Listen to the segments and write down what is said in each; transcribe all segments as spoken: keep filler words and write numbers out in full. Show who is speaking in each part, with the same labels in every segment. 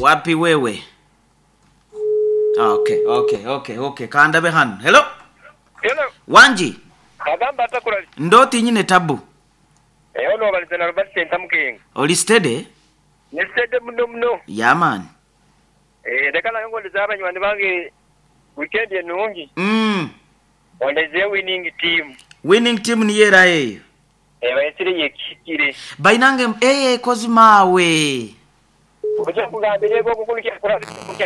Speaker 1: Wapi wewe? Okay, okay, okay, okay. Kandabe hano. Hello.
Speaker 2: Hello.
Speaker 1: Wanji.
Speaker 2: Agamba atakulali.
Speaker 1: Ndoti nyine tabu.
Speaker 2: Eh ono balize na Robert Senta Mukenga.
Speaker 1: Oli steady?
Speaker 2: Ni steady muno muno.
Speaker 1: Yeah man.
Speaker 2: Eh leka nayo ngondeza abanywani bange weekend enungi.
Speaker 1: Mm.
Speaker 2: Ondeze winning team.
Speaker 1: Winning team ni yera eyo.
Speaker 2: Eh bayisire yekikire.
Speaker 1: Bainange eh kozi mawe.
Speaker 2: Oja kugambire go kukulikira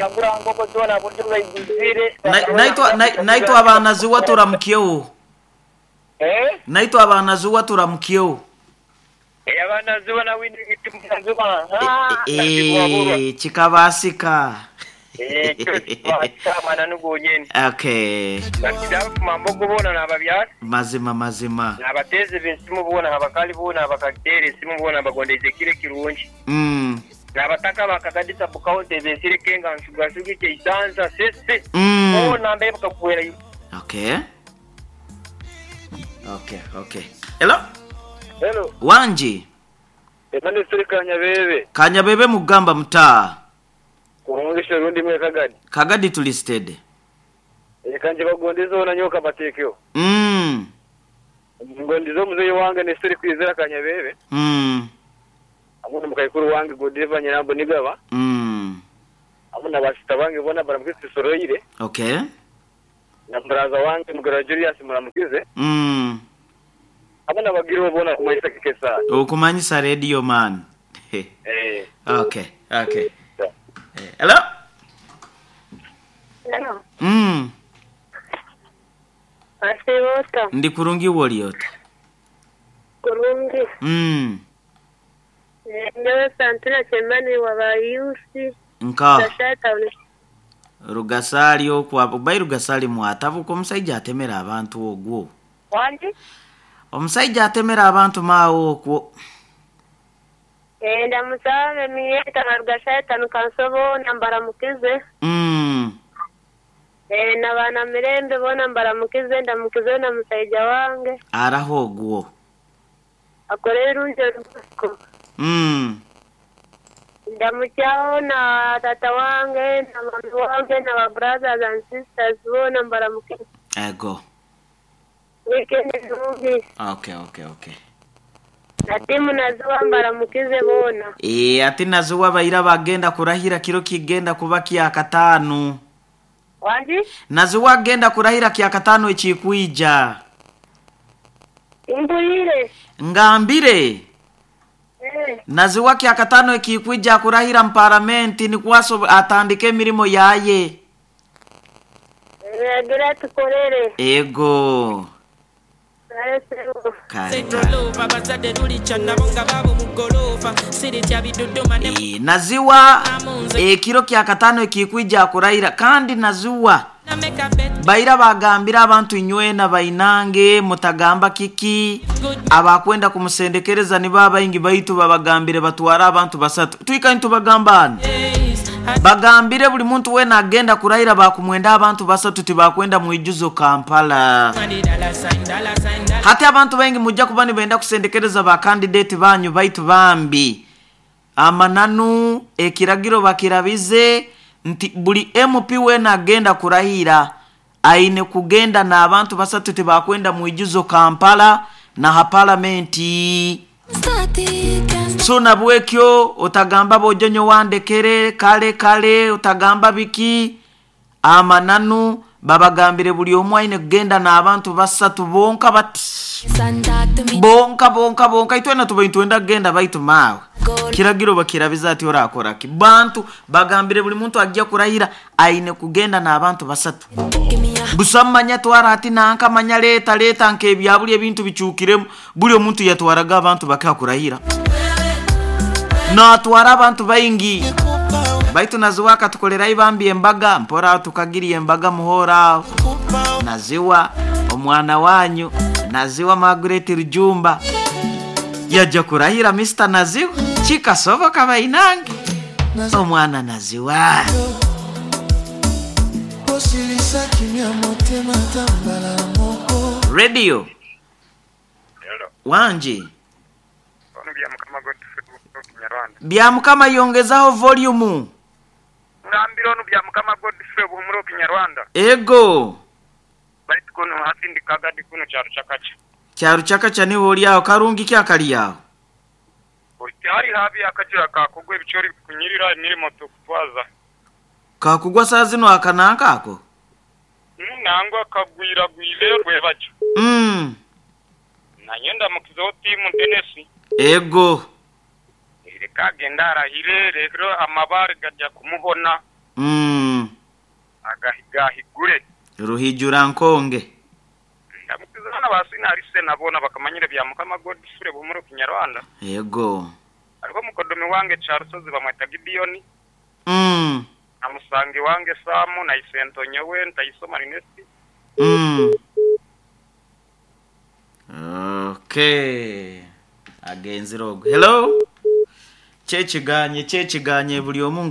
Speaker 2: kura ngoko zona bundi bayizire.
Speaker 1: Naitwa naitwa abana zuwa turamukyewo.
Speaker 2: Eh?
Speaker 1: Naitwa abana zuwa turamukyewo.
Speaker 2: Eh abana zuwa na winning team zuwa.
Speaker 1: Ah. Eh chikabasika.
Speaker 2: Eh chikabasika nugo nyene.
Speaker 1: Okay.
Speaker 2: Bakida mambo kubona nababyara.
Speaker 1: Mazima mazima.
Speaker 2: Nabateze bensimu bona abakali bona abakatere simu bona bagondeze kire kirungi.
Speaker 1: Mm.
Speaker 2: Nabataka bakagadisa bukaonte besire kenga nsuga sugike isanza sese.
Speaker 1: Mm.
Speaker 2: Bona mbe bakakuwera.
Speaker 1: Okay. Okay, okay. Hello?
Speaker 2: Hello.
Speaker 1: Wanji.
Speaker 2: Emane siri Kanyabebe.
Speaker 1: Kanyabebe mugamba mtaa.
Speaker 2: Kurungisha rundi mwe Kagadi.
Speaker 1: Kagadi tulisted.
Speaker 2: E kanje bagondeza ona nyoka batekyo.
Speaker 1: Mm.
Speaker 2: Ngondizo muzeyi wange ne siri kwizera Kanyabebe.
Speaker 1: Mm.
Speaker 2: Amuna mukayikuru wange Godiva Nyirambo nigaba.
Speaker 1: Mm.
Speaker 2: Amuna basita bange bona baramukise soroyire.
Speaker 1: Okay.
Speaker 2: Na mbraza wange mugara Julius muramukize.
Speaker 1: Mm.
Speaker 2: Abana bagiro bona kumanyisa kikesa.
Speaker 1: Okumanyisa radio man.
Speaker 2: Eh.
Speaker 1: Okay, okay. Yeah. Hello?
Speaker 3: Hello.
Speaker 1: Mm.
Speaker 3: Asiwota.
Speaker 1: Ndi kurungi woliota.
Speaker 3: Kurungi.
Speaker 1: Mm.
Speaker 3: Ndewe Santina Chemani wa Bayusi.
Speaker 1: Nka. Rugasali okwa bai Rugasali mwatavuka omusajja atemera abantu ogwo.
Speaker 3: Wanji?
Speaker 1: Omusajja atemera abantu maawo okwo.
Speaker 3: Eh ndamusabe miyeta Rugasali nukansobo nambara mukize.
Speaker 1: Mm.
Speaker 3: Eh nabana mirembe bona mbaramukize ndamukize na musajja wange.
Speaker 1: Araho ogwo.
Speaker 3: Akorera runje ruko.
Speaker 1: Mm.
Speaker 3: Ndamuchao na tata wange na mama wange na ba brothers and sisters bona mbaramukize.
Speaker 1: Ego.
Speaker 3: Weekend nungi.
Speaker 1: Okay, okay, okay.
Speaker 3: Na timu nazuwa mbaramukize bona.
Speaker 1: Eh ati nazuwa baira bagenda kurahira kiro kigenda kuba kya katanu.
Speaker 3: Wanji?
Speaker 1: Nazuwa genda kurahira kya katanu ekikuija.
Speaker 3: Imbulire.
Speaker 1: Ngambire.
Speaker 3: Eh.
Speaker 1: Nazuwa kya katano ekikuija kurahira mparamenti ni kwaso atandike mirimo yaye.
Speaker 3: Gira tukorere.
Speaker 1: Ego. E, naziwa ekiro kya katano ekikuija kurahira kandi naziwa baira bagambira abantu inywena bainange mutagamba kiki abakwenda kumusendekereza ni baba ingi baitu babagambire batwara abantu basatu twika ntubagambana bagambire buli muntu wena agenda kurahira bakumwenda abantu basatu tibakwenda muijuzo Kampala. Hati abantu bengi mujja kuba nibenda kusendekereza ba candidate banyu baitu bambi amananu ekiragiro bakirabize nti buli M P wena agenda kurahira aine kugenda na abantu basatu tibakwenda muijuzo Kampala na ha parliamenti. So nabwekyo otagamba bojonyo wandekere kale kale otagamba biki amananu babagambire buli omu aine kugenda na abantu basatu bonka bati bonka bonka bonka itwena tubaintwenda kugenda baitu mawe kiragiro bakirabiza ati orakora ki bantu bagambire buli muntu ajja kurahira aine kugenda na abantu basatu busamanya twara ati nanka manya leta leta nke byabuli ebintu bichukiremu buli omuntu yatwaraga abantu bakakurahira na twara abantu baingi baitu naziwa tukolera ibambi embaga mpora tukagiri embaga muhora naziwa omwana wanyu naziwa Margaret Rujumba yajja kurahira Mister Naziwa chikasoboka bainange omwana Naziwa Radio.
Speaker 2: Hello.
Speaker 1: Wanji.
Speaker 2: Ono bya mukama Godfrey Kinyarwanda.
Speaker 1: Bya mukama yongezaho volume.
Speaker 2: Ngambira onu bya Mukama Godfrey Buhumuro Kinyarwanda.
Speaker 1: Ego.
Speaker 2: Baitu kuno hati ndi kagadi kuno kyaro kyakacha.
Speaker 1: Kyaro kyakacha niho oli aho karungi kyakali aho.
Speaker 2: Hari habi akajira kakugwa ebichori kunyirira emirimo tukutwaza.
Speaker 1: Kakugwa saa zino akananka ako?
Speaker 2: Nangwa kagwira gwire rwebajo.
Speaker 1: Mm.
Speaker 2: Nanyenda mukizo timu Tennessee.
Speaker 1: Ego.
Speaker 2: Reka agenda arahire rero amabare gajya kumuhona.
Speaker 1: Mm.
Speaker 2: Agahigahigure.
Speaker 1: Ruhijura nkonge.
Speaker 2: Ndamukiza basina arise nabona bakamanyire bya Mukama Godfrey Buhumuro Kinyarwanda.
Speaker 1: Ego.
Speaker 2: Ariko mukodomi wange Charusozi bamwita Gideon.
Speaker 1: Mm.
Speaker 2: Amusangi wange Samu na Isento nyewe ntayisoma Rinesi.
Speaker 1: Mm. Okay. Agenzi rogo. Hello. Kyekiganye kyekiganye buli omu.